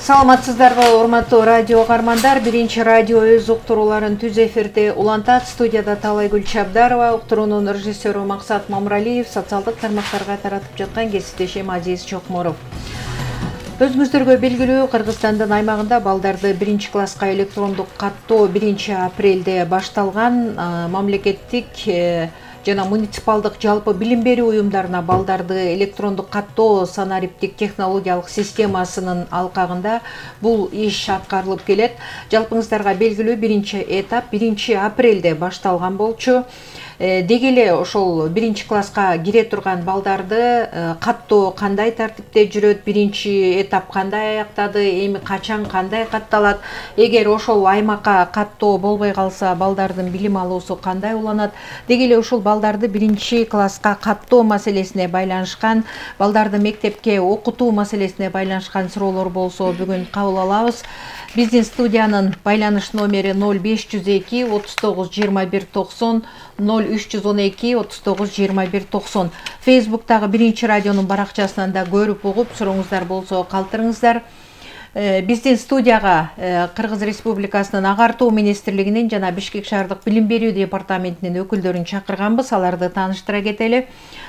Саламатсыздарбы, урматтуу радио каармандар. Биринчи радио өз уктурууларын түз эфирде улантат. Студияда Талайгүл Чабдарова, уктуруунун режиссеру Максат Мамралиев, социалдык тармактарга таратып жаткан кесиптешим Азиз Чокморов. Өзүңүздөргө белгилүү, Кыргызстандын аймагында балдарды 1-класска электрондук каттоо 1-апрелде башталган. Мамлекеттик жана муниципалдык жалпы билим берүү уюмдарына балдарды электрондук каттоо санариптик технологиялык системасынын алкагында бул иш аткарылып келет. Жалпыңыздарга белгилүү, 1-этап 1-апрелде башталган болчу. Деги эле ошол 1-класска кире турган балдарды каттоо кандай тартипте жүрөт, 1-этап кандай аяктады, эми качан кандай катталат, эгер ошол аймакка каттоо болбой калса балдардын билим алуусу кандай уланат, деги эле ушул балдарды 1-класска каттоо маселесине байланышкан, балдарды мектепке окутуу маселесине байланышкан суроолор болсо бүгүн кабыл алабыз. Биздин студиянын байланыш номери 0502 39 21 90, 0312 39 21 90. Фейсбуктагы Биринчи радионун баракчасынан да көрүп угуп, сурооңуздар болсо калтырыңыздар. Биздин студияга Кыргыз Республикасынын Агартуу министрлигинин жана Бишкек шаардык билим берүү департаментинин өкүлдөрүн чакырганбыз, аларды тааныштыра кетели.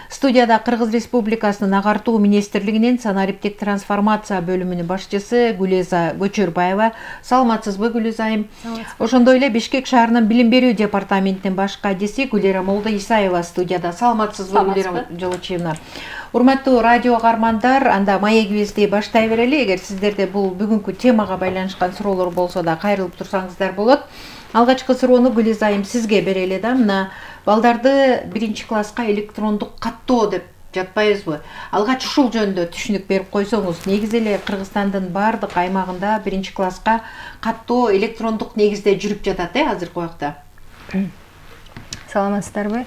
Студияда Кыргыз Республикасынын Агартуу министрлигинин санариптик трансформация бөлүмүнүн башчысы Гүлеза Көчөрбаева. Саламатсызбы, Гүлеза айым? Ошондой эле Бишкек шаарынын билим берүү департаментинин баш кадиси Гүлера Молдоисаева студияда. Саламатсызбы, Гүлера Жолочиевна? Урматтуу радио каармандар, анда маегибизди баштай берели. Эгер сиздерде бул бүгүнкү темага байланышкан суроолор болсо да кайрылып турсаңыздар болот. Алгачкы суроону Гүлеза айым сизге берели да. Мына балдарды 1-класска электрондук каттоо деп жатпайбызбы? Алгач ушул жөнүндө түшүнүк берип койсоңуз. Негизи эле Кыргызстандын баардык аймагында 1-класска каттоо электрондук негизде жүрүп жатат, азыркы убакта. Саламатсыздарбы,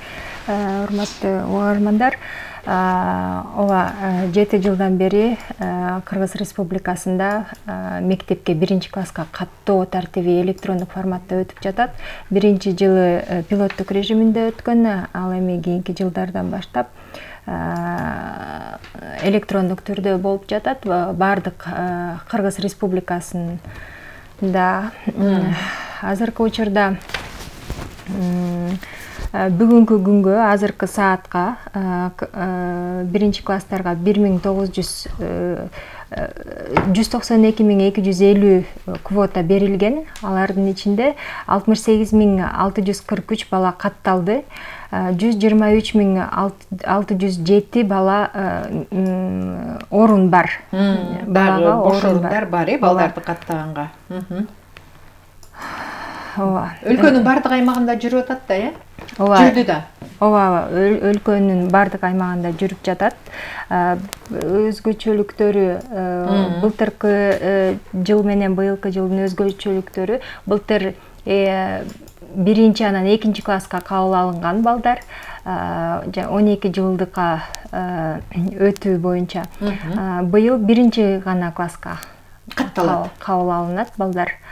урматтуу угармандар. Ооба, 7 жылдан бери Кыргыз Республикасында мектепке 1-класска каттоо тартиби электрондук форматта өтүп жатат. Биринчи жылы пилоттук режиминде өткөн, ал эми кийинки жылдардан баштап электрондук түрдө болуп жатат. Бардык Кыргыз Республикасында азыркы учурда бүгүнкү күнгө, азыркы саатка 1-класстарга 192.250 квота берилген. Алардын ичинде 68.643 бала катталды. 123.607 бала орун бар. Балага орундар бар, балдарды каттаганга. Өлкөнүн бардык аймагында жүрүп атат да, жүрдү да. Ооба, өлкөнүн бардык аймагында жүрүп жатат. Өзгөчөлүктөрү былтыркы жыл менен быйылкы жылдын өзгөчөлүктөрү, былтыр 1 анан 2-класска кабыл алынган балдар 12 жылдыкка өтүү боюнча быйыл 1 гана класска кабыл алынат балдар.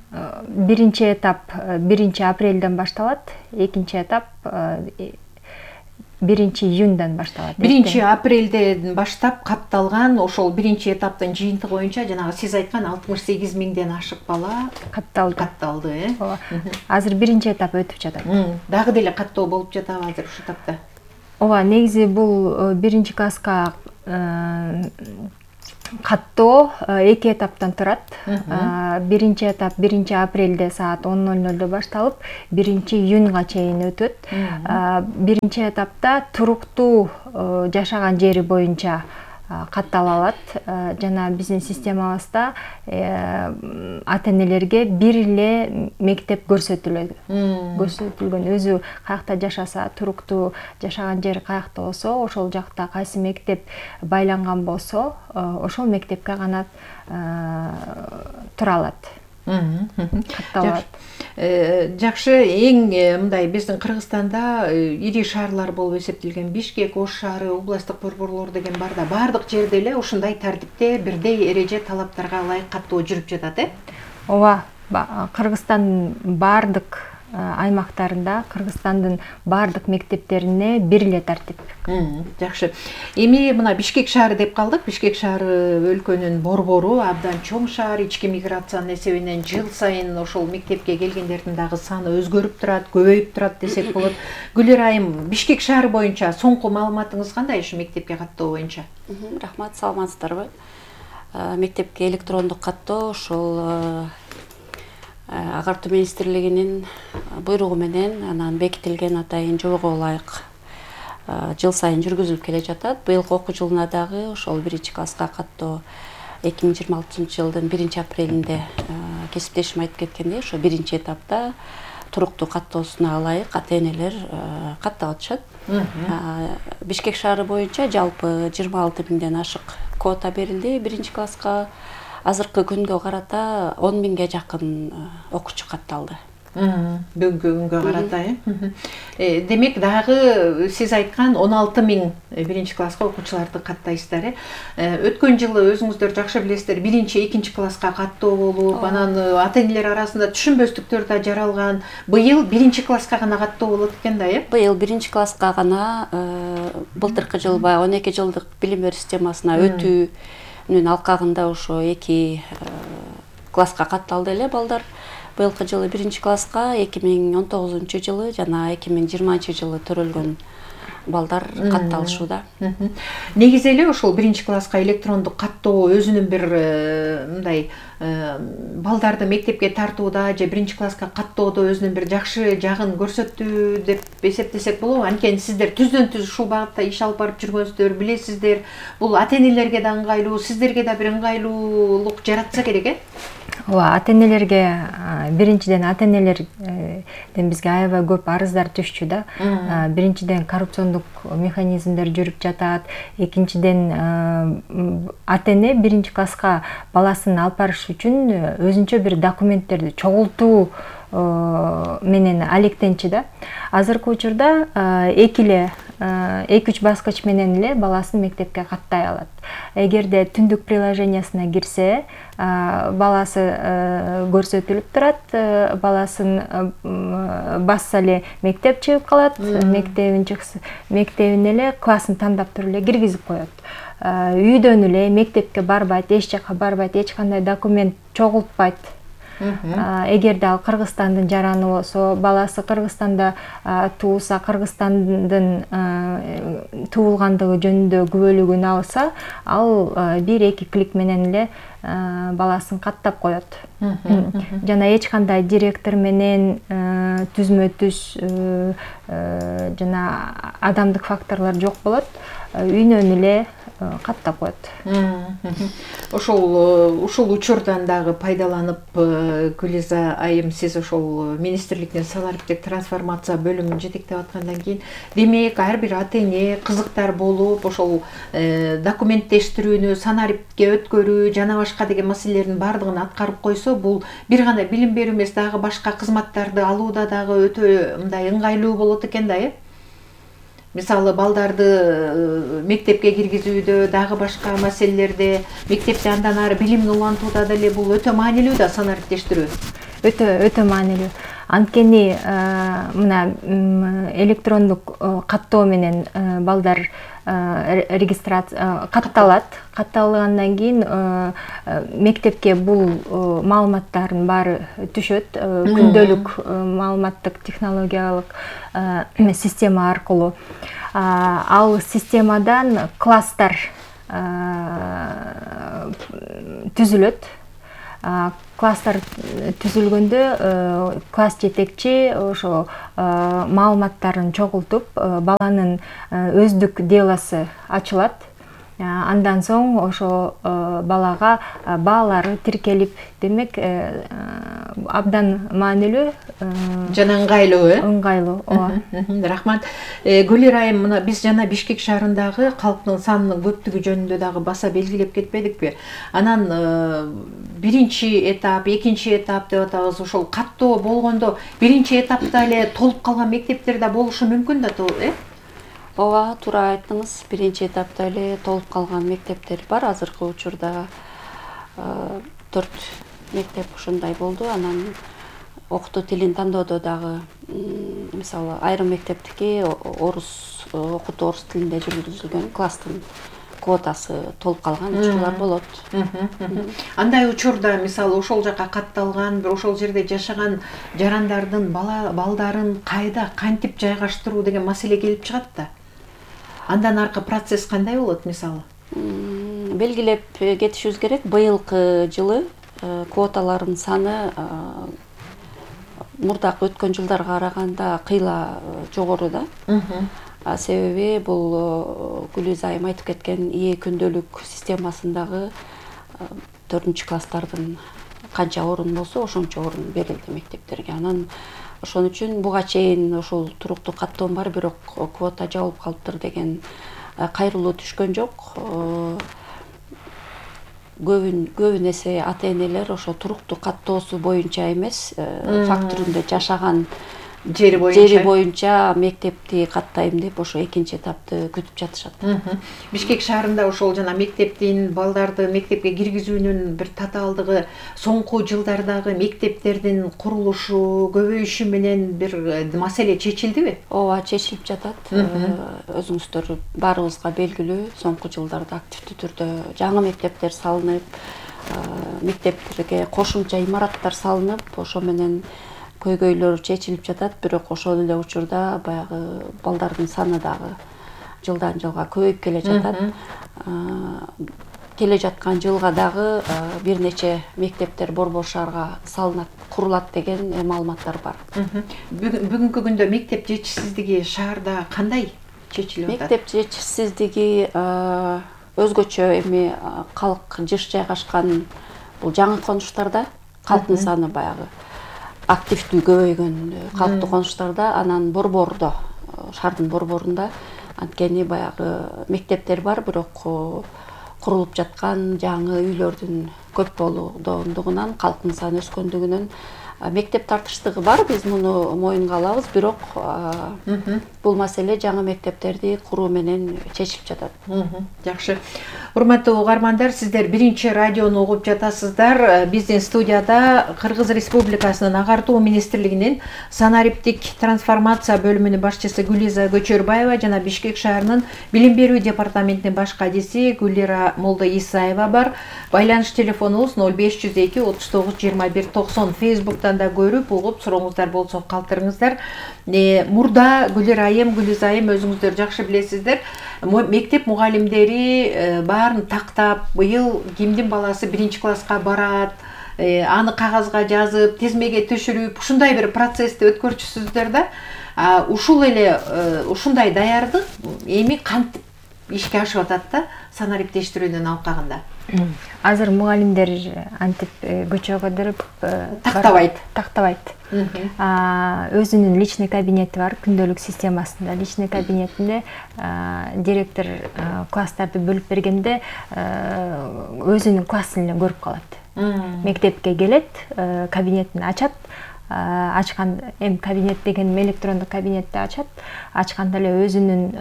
1-этап 1-апрелден башталат, 2-этап 1-июндан башталат. 1-апрелден баштап катталган ошол 1-этаптын жыйынтыгы боюнча жанагы сиз айткан 68.000ден ашык бала катталды. Азыр 1-этап өтүп жатат. Дагы деле каттоо болуп жатабы азыр ушул этапта? Ооба, негизи бул 1-класска каттоо 2 этаптан турат. 1-этап 1-апрелде саат 10:00 башталып, 1-июнга чейин өтөт. 1-этапта туруктуу жашаган жери боюнча каттала алат. Жана биздин системабызда ата-энелерге бир эле мектеп көрсөтүлгөн. Өзү каякта жашаса, туруктуу жашаган жери каякта болсо, ошол жакта кайсы мектеп байланган болсо, ошол мектепке гана тура алат. Жакшы, эң мындай биздин Кыргызстанда ири шаарлар болуп эсептелген Бишкек, Ош шаары, областтык борборлор деген бар да, бардык жерде эле ушундай тартипте бирдей эреже талаптарга ылайык каттоо жүрүп жатат, Ооба, Кыргызстандын бардык аймактарында Кыргызстандын баардык мектептерине бир эле тартип. Жакшы. Эми мына Бишкек шаары деп калдык. Бишкек шаары өлкөнүн борбору, абдан чоң шаар, ички миграциянын эсебинен жыл сайын ошол мектепке келгендердин дагы саны өзгөрүп турат, көбөйүп турат десек болот. Гүлер айым, Бишкек шаары боюнча соңку маалыматыңыз кандай ушу мектепке каттоо боюнча? Рахмат, саламатсыздарбы? Мектепке электрондук каттоо ошол Агартуу министрлигинин буйругу менен анан бекитилген атайын жобого ылайык жыл сайын жүргүзүлүп келе жатат. Быйылкы окуу жылына дагы ошол 1-класска каттоо 2026-жылдын 1-апрелинде кесиптешим айтып кеткендей, ошо 1-этапта туруктуу каттоосуна ылайык ата-энелер каттап атышат. Бишкек шаары боюнча жалпы 26 миңден ашык квота берилди 1-класска. Азыркы күнгө карата 10 миңге жакын окуучу катталды. Бүгүнкү күнгө карата, демек дагы сиз айткан 16 миң 1-класска окуучуларды каттайсыздар. Өткөн жылы өзүңүздөр жакшы билесиздер, 1-2 класска каттоо болуп, анан ата-энелер арасында түшүнбөстүктөр да жаралган. Быйыл 1-класска гана каттоо болот экен да, Быйыл 1-класска гана былтыркы жыл 12 жылдык билим берүү системасына өтүүнүн алкагында ошо 2 класска катталды эле балдар. Быйылкы жылы 1-класска 2019 жылы жана 2020 жылы төрөлгөн балдар катталышууда. Негизи эле ошол 1-класска электрондук каттоо өзүнүн бир мындай балдарды мектепке тартууда же 1-класска каттоодо өзүнүн бир жакшы жагын көрсөттү деп эсептесек болобу? Анткени сиздер түздөн түз ушул багытта иш алып барып жүргөнсүздөр, билесиздер. Бул ата-энелерге да ыңгайлуу, сиздерге да бир ыңгайлуулук жаратса керек, Ооба, ата-энелерге биринчиден ата-энелерден бизге аябай көп арыздар түшчү да. Биринчиден коррупциондук механизмдер жүрүп жатат. Экинчиден ата-эне 1-класска баласын алып барыш үчүн өзүнчө бир документтерди чогултуу менен алектенчи да. Азыркы учурда 2-3 баскыч менен эле баласын мектепке каттай алат. Эгерде түндүк приложениясына кирсе, баласы көрсөтүлүп турат, баласын басса эле мектеп чыгып калат, мектебин эле классын тандап туруп эле киргизип коет. Үйдөн эле мектепке барбайт, эч жакка барбайт, эч кандай документ чогултпайт. Эгерде ал Кыргызстандын жараны болсо, баласы Кыргызстанда туулса, Кыргызстандын туулгандыгы жөнүндө күбөлүгүн алса, ал 1-2 клик менен эле баласын каттап коет. Жана эч кандай директор менен түзмө-түз жана адамдык факторлор жок болот. Үйүнөн эле каттап коет. Ушул учурдан дагы пайдаланып, Гүлиза айым, сиз ошол министрликтин санариптик трансформация бөлүмүн жетектеп аткандан кийин, демек ар бир ата-эне кызыктар болуп, ошол документтештирүүнү, санарипке өткөрүү жана башка деген маселелердин баардыгын аткарып койсо, бул бир гана билим берүү эмес, дагы башка кызматтарды алууда дагы өтө мындай ыңгайлуу болот экен да, Мисалы, балдарды мектепке киргизүүдө, дагы башка маселелерде, мектепте андан ары билимин улантууда деле бул өтө маанилүү да санариптештирүү. Өтө маанилүү. Анткени мына электрондук каттоо менен балдар регистрация катталат. Катталгандан кийин мектепке бул маалыматтардын баары түшөт. Күндөлүк маалыматтык технологиялык система аркылуу. Ал системадан класстар түзүлөт. Класстар түзүлгөндө класс жетекчи ошо маалыматтарын чогултуп, баланын өздүк делосы ачылат. Андан соң ошо балага баалары тиркелип, демек абдан маанилүү жана ыңгайлуу, ыңгайлуу. Ооба. Рахмат. Гүлер айым, мына биз жана Бишкек шаарындагы калктын санынын көптүгү жөнүндө дагы баса белгилеп кетпедикпи? Анан 1-этап, 2-этап деп атабыз, ошол каттоо болгондо 1-этапта эле толуп калган мектептер да болушу мүмкүн да, Ооба, туура айттыңыз. 1-этапта эле толуп калган мектептер бар. Азыркы учурда 4 мектеп ушундай болду. Анан окутуу тилин тандоодо дагы мисалы айрым мектептики окутуу орус тилинде жүргүзүлгөн, класстын квотасы толуп калган учурлар болот. Андай учурда мисалы ошол жака катталган, бир ошол жерде жашаган жарандардын балдарын кайда кантип жайгаштыруу деген маселе келип чыгат да. Андан аркы процесс кандай болот мисалы? Белгилеп кетишибиз керек. Быйылкы жылы квоталардын саны мурдакы өткөн жылдарга караганда кыйла жогору да. Себеби бул Гүлиз айым айтып кеткен ИЭ күндөлүк системасындагы 4-класстардын канча орун болсо ошончо орун берилди мектептерге. Анан ошон үчүн буга чейин ошол туруктуу каттоом бар, бирок квота жабылып калыптыр деген кайрылуу түшкөн жок. Көбүн эсе ата-энелер ошо туруктуу каттоосу боюнча эмес, факт түрүндө жашаган жери боюнча мектепти каттайм деп ошо экинчи этапты күтүп жатышат. Бишкек шаарында ошол жана мектептин балдарды мектепке киргизүүнүн бир татаалдыгы соңку жылдардагы мектептердин курулушу, көбөйүшү менен бир маселе чечилдиби? Ооба, чечилип жатат. Өзүңүздөр баарыбызга белгилүү, соңку жылдарда активдүү түрдө жаңы мектептер салынып, мектептерге кошумча имараттар салынып, ошо менен көйгөйлөр чечилип жатат, бирок ошол эле учурда баягы балдардын саны дагы жылдан жылга көбөйүп келе жатат. Келе жаткан жылга дагы бир нече мектептер Борбор шаарга салынат, курулат деген маалыматтар бар. Бүгүнкү күндө мектеп жетишсиздиги шаарда кандай чечилип атат? Мектеп жетишсиздиги өзгөчө эми калк жыш жайгашкан бул жаңы конуштарда, калктын саны баягы активдүү көбөйгөн калктуу конуштарда, анан борбордо, шаардын борборунда анткени баягы мектептер бар, бирок курулуп жаткан жаңы үйлөрдүн көп болугундугунан, калктын саны өскөндүгүнөн мектеп тартыштыгы бар, биз муну моюнга алабыз, бирок бул маселе жаңы мектептерди куруу менен чечилип жатат. Жакшы. Урматтуу угармандар, сиздер биринчи радиону угуп жатасыздар. Биздин студияда Кыргыз Республикасынын Агартуу министрлигинин санариптик трансформация бөлүмүнүн башчысы Гүлиза Көчөрбаева жана Бишкек шаарынын билим берүү департаментинин баш кадиси Гүлира Молдо Исаева бар. Байланыш телефонубуз 0502 39 21 90. Facebook'tan да көрүп, угуп, сурооңуздар болсо калтырыңыздар. Мурда Гүлира айым, Гүлиза айым өзүңүздөр жакшы билесиздер. Мектеп мугалимдери баарын тактап, быйыл кимдин баласы 1-класска барат, аны кагазга жазып, тизмеге түшүрүп, ушундай бир процессти өткөрчүсүздөр да. Ушул эле ушундай даярдык эми кантип ишке ашып атат да санариптештирүүнүн алкагында? Азыр мугалимдер антип көчө кыдырып тактабайт. Өзүнүн личный кабинети бар, күндөлүк системасында. Личный кабинетинде директор класстарды бөлүп бергенде өзүнүн классын эле көрүп калат. Мектепке келет, кабинетин ачат. Ачкан кабинет деген электрондук кабинетти ачканда эле өзүнүн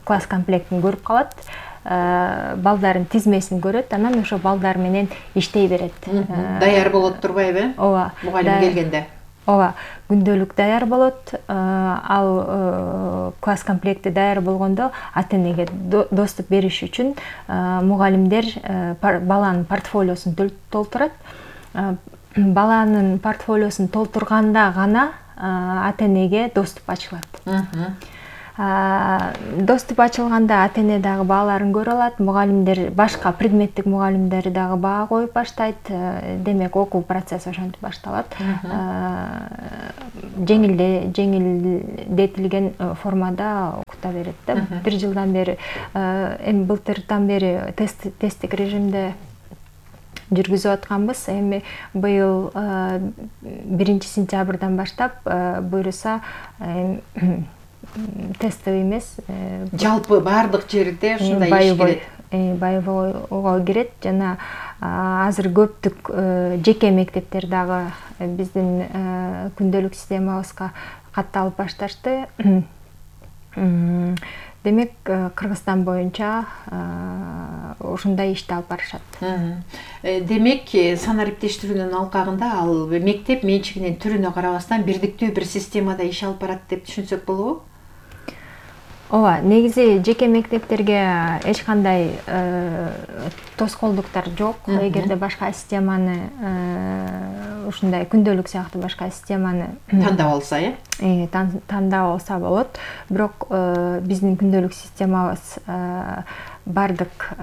класс комплектин көрүп калат. Балдардын тизмесин көрөт, анан ошо балдар менен иштей берет. Даяр болот турбайбы? Ооба. Мугалим келгенде. Ооба, күндөлүк даяр болот. Ал класс комплекти даяр болгондо ата-энеге доступ бериш үчүн мугалимдер баланын портфолиосун толтурат. Баланын портфолиосун толтурганда гана ата-энеге доступ ачылат. Доступ ачылганда ата-эне дагы бааларын көрө алат, мугалимдер, башка предметтик мугалимдер дагы баа коюп баштайт. Демек, окуу процесси ошентип башталат. Жеңилдетилген формада окута берет да. Бир жылдан бери, эми былтырдан бери тесттик режимде жүргүзүп атканбыз. Эми быйыл 1-сентябрдан баштап буйруса тестовый эмес, жалпы баардык жерде ушундай иш кирет. Байыбойго кирет жана азыр көптүк жеке мектептер дагы биздин күндөлүк системабызга катталып башташты. Демек Кыргызстан боюнча ушундай ишти алып барышат. Демек санариптештирүүнүн алкагында ал мектеп менчигинин түрүнө карабастан бирдиктүү бир системада иш алып барат деп түшүнсөк болобу? Ооба, негизи жеке мектептерге эч кандай тоскоолдуктар жок. Эгерде башка системаны ушундай күндөлүк сыяктуу башка системаны Тандап алса, тандап алса болот. Бирок биздин күндөлүк системабыз бардык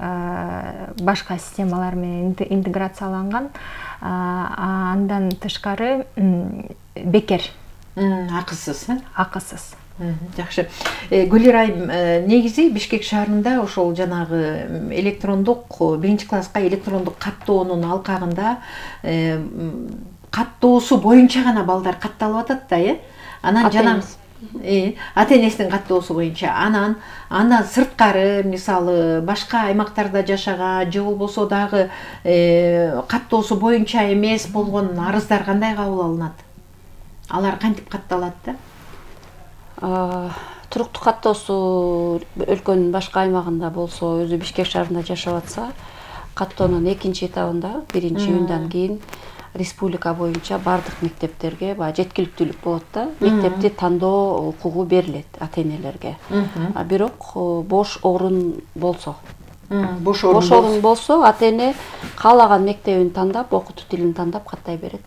башка системалар менен интеграцияланган. Андан тышкары бекер. Акысыз. Акысыз. Жакшы. Гүлир айым, негизи Бишкек шаарында ошол жанагы электрондук биринчи класска электрондук каттоонун алкагында каттоосу боюнча гана балдар катталып атат да, Анан жанагы ата-энесинин каттоосу боюнча. Андан сырткары, мисалы, башка аймактарда жашаган же болбосо дагы каттоосу боюнча эмес болгон арыздар кандай кабыл алынат? Алар кантип катталат да? Туруктуу каттоосу өлкөнүн башка аймагында болсо, өзү Бишкек шаарында жашап атса, каттоонун экинчи этабында, биринчи июндан кийин республика боюнча бардык мектептерге жеткиликтүүлүк болот да. Мектепти тандоо укугу берилет ата-энелерге. Бирок бош орун болсо, ата-эне каалаган мектебин тандап, окутуу тилин тандап каттай берет.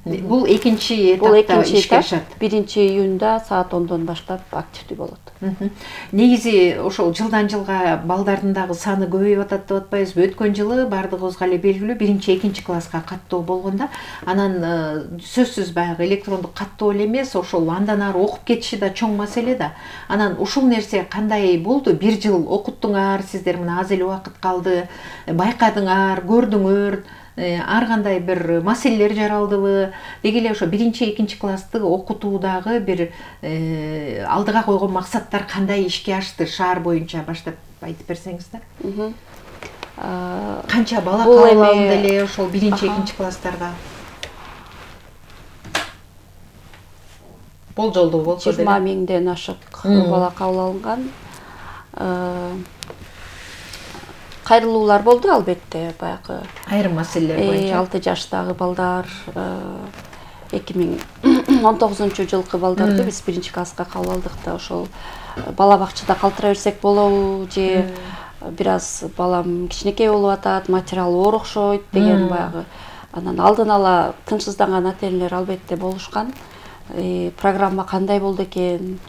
Бул экинчи этапта ишке ашат. 1-июнда саат 10дон баштап активдүү болот. Негизи ошол жылдан жылга балдардын дагы саны көбөйүп атат деп атпайбызбы? Өткөн жылы бардыгыбызга эле белгилүү 1-экинчи класска каттоо болгондо, анан сөзсүз баягы электрондук каттоо эле эмес, ошол андан ары окуп кетиши да чоң маселе да. Анан ушул нерсе кандай болду? Бир жыл окуттуңар, сиздер мына аз эле убакыт калды, байкадыңар, көрдүңөр, ар кандай бир маселелер жаралдыбы? Деги эле ошо 1-экинчи классты окутуудагы бир алдыга койгон максаттар кандай ишке ашты шаар боюнча баштап айтып берсеңиздер? Канча бала кабыл алынды эле ошол 1-экинчи класстарга? Болжолдуу болсо деле 20 миңден ашык бала кабыл алынган. Кайрылуулар болду албетте, баягы айрым маселелер боюнча. 6 жаштагы балдар 2019 жылкы балдарды биз 1-инчи класска кабыл алдык да, ошол бала бакчада калтыра берсек болобу же бир аз балам кичинекей болуп атат, материалы оор окшойт деген баягы. Анан алдын ала тынчсызданган ата-энелер албетте болушкан. Программа кандай болду экен?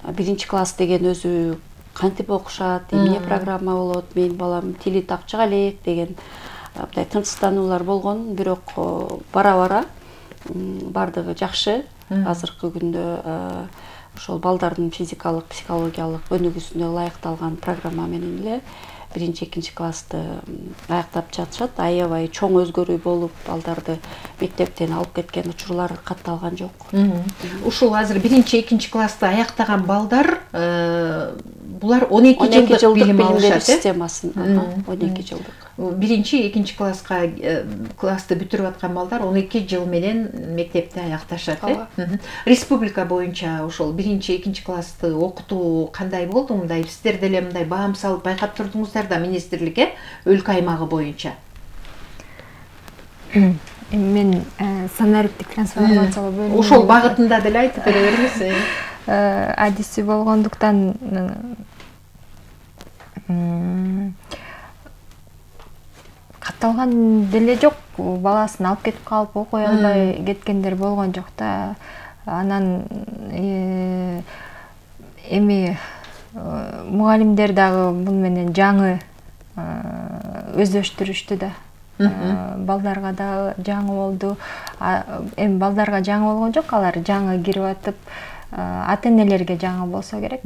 1-инчи класс деген өзү кантип окушат, эмне программа болот, менин балам тили тапчык элек деген мындай тынчсыздануулар болгон. Бирок бара-бара бардыгы жакшы. Азыркы күндө ошол балдардын физикалык, психологиялык өнүгүүсүнө ылайыкталган программа менен эле 1-экинчи классты аяктап жатышат. Аябай чоң өзгөрүү болуп, балдарды мектептен алып кеткен учурлар катталган жок. Ушул азыр 1-экинчи классты аяктаган балдар булар 12 жылдык билим алышат системасын. 12 жылдык. 1-экинчи класска классты бүтүрүп аткан балдар 12 жыл менен мектепти аякташат. Республика боюнча ошол 1-экинчи классты окутуу кандай болду? Мындай сиздер деле мындай баам салып байкап турдуңуздар да министрликке өлкө аймагы боюнча. Мен санариптик трансформациялоо бөлүмүнө ошол багытында деле айтып бере бериңиз. Адиси болгондуктан катталган деле жок. Баласын алып кетип калып окуй албай кеткендер болгон жок да. Анан эми мугалимдер дагы бул менен жаңы өздөштүрүштү да. Балдарга дагы жаңы болду. Эми балдарга жаңы болгон жок, алар жаңы кирип атып, ата-энелерге жаңы болсо керек.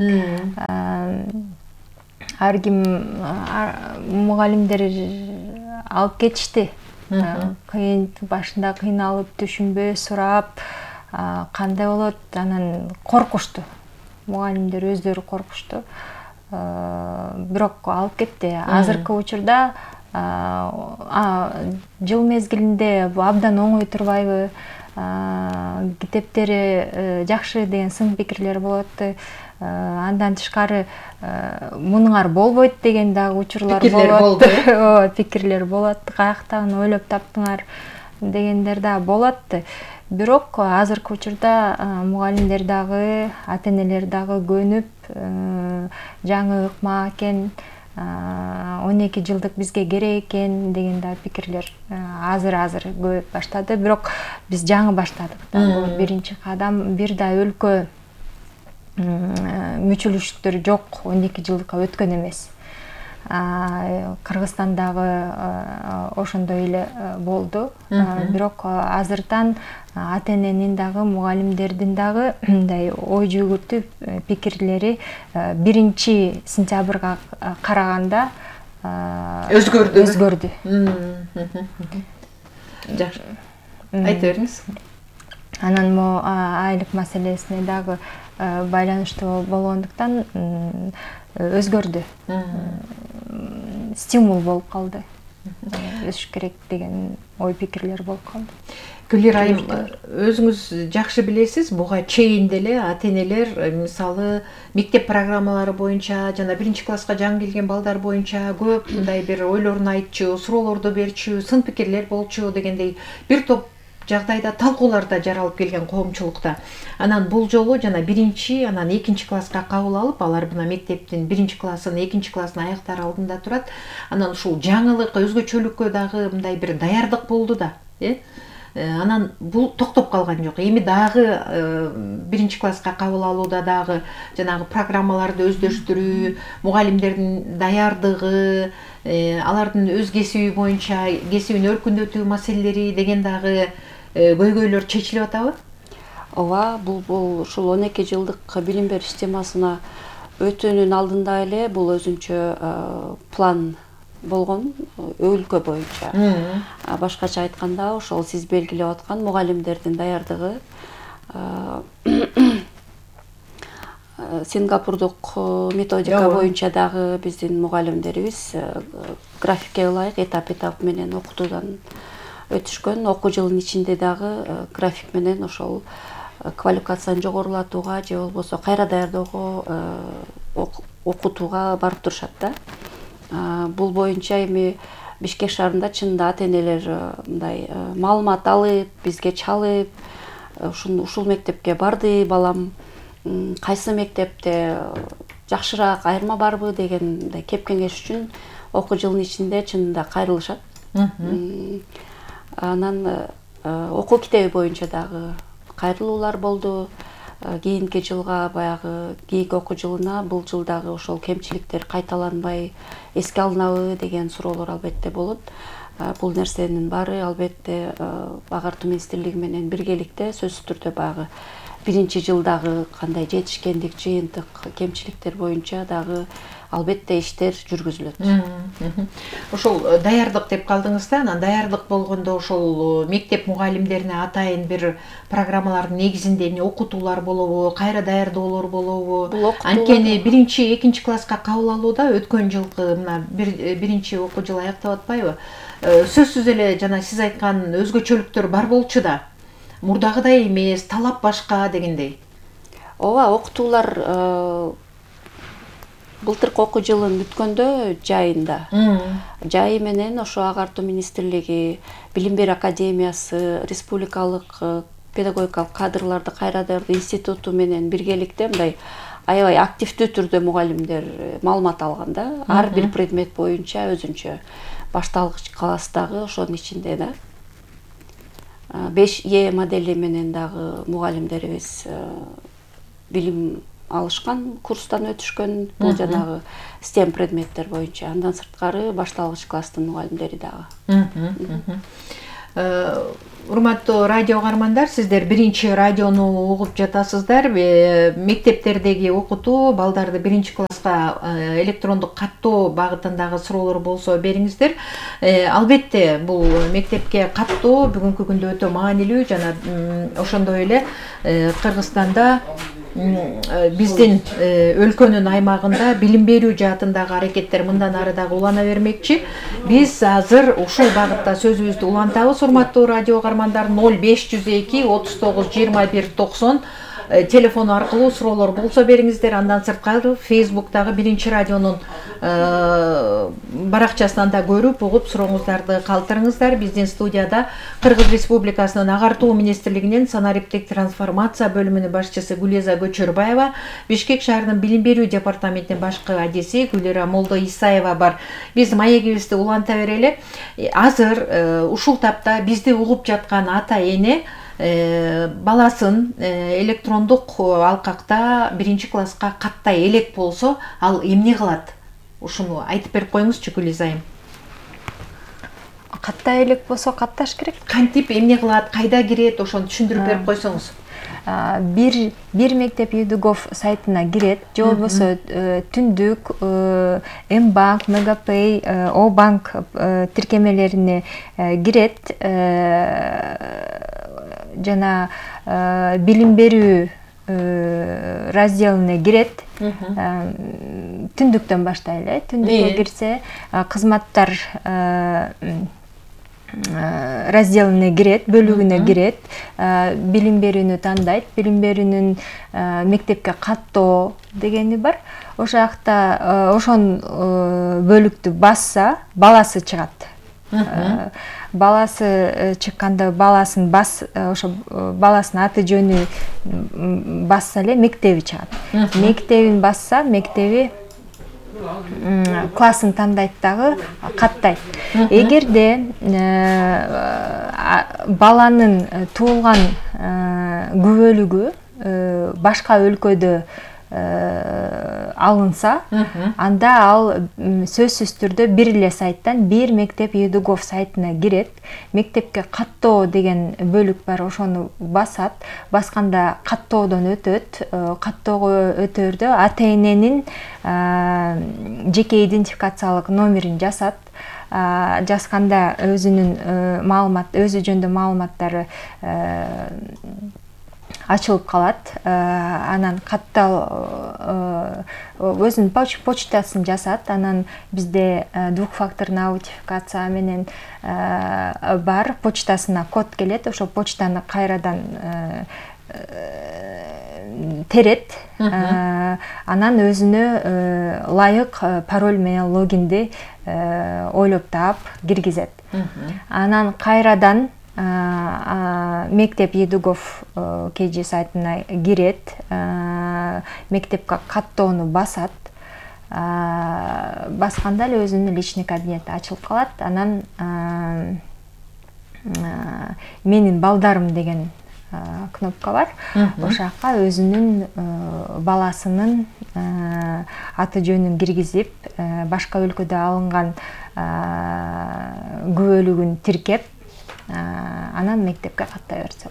Ар ким мугалимдер алып кетишти. Кыйын, башында кыйналып, түшүнбөй сурап, кандай болот, анан коркушту. Мугалимдер өздөрү коркушту. Бирок алып кетти. Азыркы учурда жыл мезгилинде абдан оңой турбайбы? Китептери жакшы деген сын пикирлер болот. Андан тышкары мунуңар болбойт деген дагы учурлар болот. Ооба, пикирлер болот. Каяктан ойлоп таптыңар дегендер да болот. Бирок азыркы учурда мугалимдер дагы, ата-энелер дагы көнүп, жаңы ыкма экен, 12 жылдык бизге керек экен деген да пикирлер азыр көбөйүп баштады. Бирок биз жаңы баштадык. Бул биринчи кадам. Бир да өлкө мүчүлүштөр жок, 12 жылдыкка өткөн эмес. Кыргызстандагы ошондой эле болду. Бирок азырдан ата-эненин дагы, мугалимдердин дагы мындай ой жүгүртүп пикирлери 1-сентябрга караганда өзгөрдү. Жакшы. Айта бериңиз. Анан могу айлык маселесине дагы байланыштуу болгондуктан өзгөрдү. Стимул болуп калды. Өсүш керек деген ой пикирлер болуп калды. Гүлир айым, өзүңүз жакшы билесиз, буга чейин деле ата-энелер мисалы мектеп программалары боюнча жана 1-класска жаңы келген балдар боюнча көп мындай бир ойлорун айтчу, суроолорду берчү, сын пикирлер болчу дегендей бир топ жагдайда талкууларда жаралып келген коомчулукта. Анан бул жолу жана 1, анан 2 класска кабыл алып, алар мына мектептин 1 классын, 2 классын аяктар алдында турат. Анан ушул жаңылык, өзгөчөлүккө дагы мындай бир даярдык болду да, Анан бул токтоп калган жок. Эми дагы 1 класска кабыл алууда дагы жанагы программаларды өздөштүрүү, мугалимдердин даярдыгы, алардын өз кесиби боюнча кесибин өркүндөтүү маселелери деген дагы көйгөйлөр чечилип атабы? Ооба, бул ушул 12 жылдык билим берүү системасына өтүүнүн алдында эле бул өзүнчө план болгон өлкө боюнча. Башкача айтканда, ошол сиз белгилеп аткан мугалимдердин даярдыгы Сингапурдук методика боюнча дагы биздин мугалимдерибиз графикке ылайык этап менен окутуудан өтүшкөн. Окуу жылынын ичинде дагы график менен ошол квалификацияны жогорулатууга же болбосо кайра даярдоого, окутууга барып турушат да. Бул боюнча эми Бишкек шаарында чынында ата-энелер мындай маалымат алып, бизге чалып, ушул мектепке барды балам, кайсы мектепте жакшыраак айырма барбы деген мындай кеп кеңеш үчүн окуу жылынын ичинде чынында кайрылышат. Анан окуу китеби боюнча дагы кайрылуулар болду. Кийинки жылга баягы кийинки окуу жылына бул жылдагы ошол кемчиликтер кайталанбай эске алынабы деген суроолор албетте болот. Бул нерсенин баары албетте Агартуу министрлиги менен биргеликте сөзсүз түрдө баягы 1-жылдагы кандай жетишкендик, жыйынтык, кемчиликтер боюнча дагы албетте иштер жүргүзүлөт. Ошол даярдык деп калдыңыз да, анан даярдык болгондо ошол мектеп мугалимдерине атайын бир программалардын негизинде эмне окутуулар болобу, кайра даярдоолор болобу? Анткени 1-2 класска кабыл алууда өткөн жылкы мына 1 окуу жыл аяктап атпайбы? Сөзсүз эле жана сиз айткан өзгөчөлүктөр бар болчу да. Мурдагыдай эмес, талап башка дегендей. Ооба, окутуулар былтыркы окуу жылын бүткөндө жайында. Жайы менен ошо Агартуу министрлиги, Билим берүү академиясы, Республикалык педагогикалык кадрларды кайра даярдоо институту менен биргеликте мындай аябай активдүү түрдө мугалимдер маалымат алган да. Ар бир предмет боюнча өзүнчө башталгыч класстагы ошонун ичинде да. 5E модели менен дагы мугалимдерибиз билим алышкан, курстан өтүшкөн, бул жанагы STEM предметтер боюнча. Андан сырткары башталгыч класстын мугалимдери дагы. Урматтуу радио угармандар, сиздер 1-радиону угуп жатасыздар. Мектептердеги окутуу, балдарды 1-класска электрондук каттоо багытындагы суроолор болсо бериңиздер. Албетте бул мектепке каттоо бүгүнкү күндө өтө маанилүү жана ошондой эле Кыргызстанда биздин өлкөнүн аймагында билим берүү жаатындагы аракеттер мындан ары дагы улана бермекчи. Биз азыр ушул багытта сөзүбүздү улантабыз. Урматтуу радио угармандар, 0502 39 21 90 телефону аркылуу суроолор болсо бериңиздер. Андан сырткары Facebook'тагы Биринчи радионун баракчасынан да көрүп, угуп сурооңуздарды калтырыңыздар. Биздин студияда Кыргыз Республикасынын Агартуу министрлигинин санариптик трансформация бөлүмүнүн башчысы Гулеза Көчөрбаева, Бишкек шаарынын билим берүү департаментинин башкы адиси Гүлира Молдо Исаева бар. Биз маегибизди уланта берели. Азыр ушул тапта бизди угуп жаткан ата эне баласын электрондук алкакта 1-класска каттай элек болсо, ал эмне кылат? Ушуну айтып берип коюңузчу, Гүлиза айым. Каттай элек болсо катташ керек. Кантип эмне кылат, кайда кирет, ошону түшүндүрүп берип койсоңуз. Бир мектеп ЮДГОВ сайтына кирет, же болбосо түндүк М-банк, Мегапей, О-банк тиркемелерине кирет, жана билим берүү разделине кирет. Түндүктөн баштайлы. Түндүккө кирсе, кызматтар разделине кирет, бөлүгүнө кирет, билим берүүнү тандайт, билим берүүнүн мектепке каттоо дегени бар. Ошол жакта ошон бөлүктү басса, баласы чыгат. Баласы чыкканда баласын ошо баласынын аты жөнү басса эле мектеби чыгат. Мектебин басса, мектеби классын тандайт дагы каттайт. Эгерде баланын туулган күбөлүгү башка өлкөдө алынса, анда ал сөзсүз түрдө бир эле сайттан бир мектеп ЮДГОВ сайтына кирет, мектепке каттоо деген бөлүк бар, ошону басат, басканда каттоодон өтөт, каттоого өтөрдө ата эненин жеке идентификациялык номерин жасат, жазганда өзүнүн өзү жөнүндө маалыматтары ачылып калат. Анан өзүнүн почтасын жасат. Анан бизде двухфакторный аутентификация менен бар, почтасына код келет, ошо почтаны кайрадан терет. Анан өзүнө ылайык пароль менен логинди ойлоп таап киргизет. Анан кайрадан мектеп ЮДГОВ KG сайтына кирет, мектепке каттоону басат, басканда эле өзүнүн личный кабинети ачылып калат. Анан менин балдарым деген кнопка бар. Ошол жакка өзүнүн баласынын аты жөнүн киргизип, башка өлкөдө алынган күбөлүгүн тиркеп, анан мектепке каттай берсе.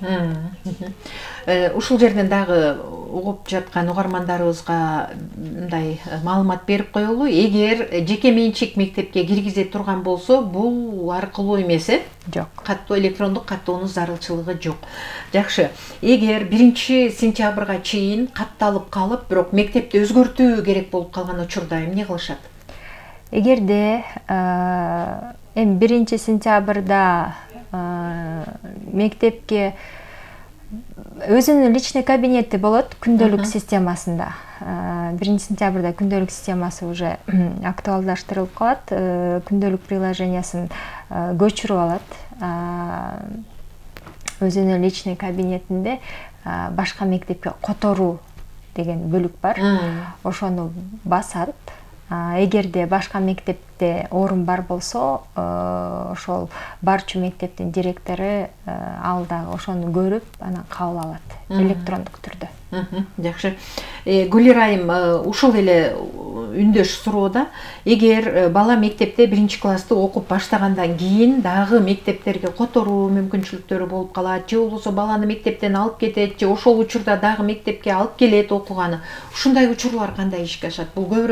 Ушул жерден дагы угуп жаткан угармандарыбызга мындай маалымат берип коелу. Эгер жеке менчик мектепке киргизе турган болсо, бул аркылуу эмес, Жок. Каттоо, электрондук каттоонун зарылчылыгы жок. Жакшы. Эгер 1-сентябрга чейин катталып калып, бирок мектепти өзгөртүү керек болуп калган учурда эмне кылышат? Эгерде 1-сентябрда мектепке өзүнүн личный кабинети болот күндөлүк системасында. 1-сентябрда күндөлүк системасы уже актуалдаштырылып калат, күндөлүк приложениясын көчүрүп алат. Өзүнүн личный кабинетинде башка мектепке которуу деген бөлүк бар. Ошону басат. Эгерде башка мектепте орун бар болсо, ошол барчу мектептин директору ал дагы ошону көрүп, анан кабыл алат электрондук түрдө. Жакшы. Гүлира айым ушул эле үндөш суроодо, эгер бала мектепте 1-классты окуп баштагандан кийин дагы мектептерге которуу мүмкүнчүлүктөрү болуп калат, же болбосо баланы мектептен алып кетет, же ошол учурда дагы мектепке алып келет окуганы. Ушундай учурлар кандай ишке ашат? Бул көбүрөөк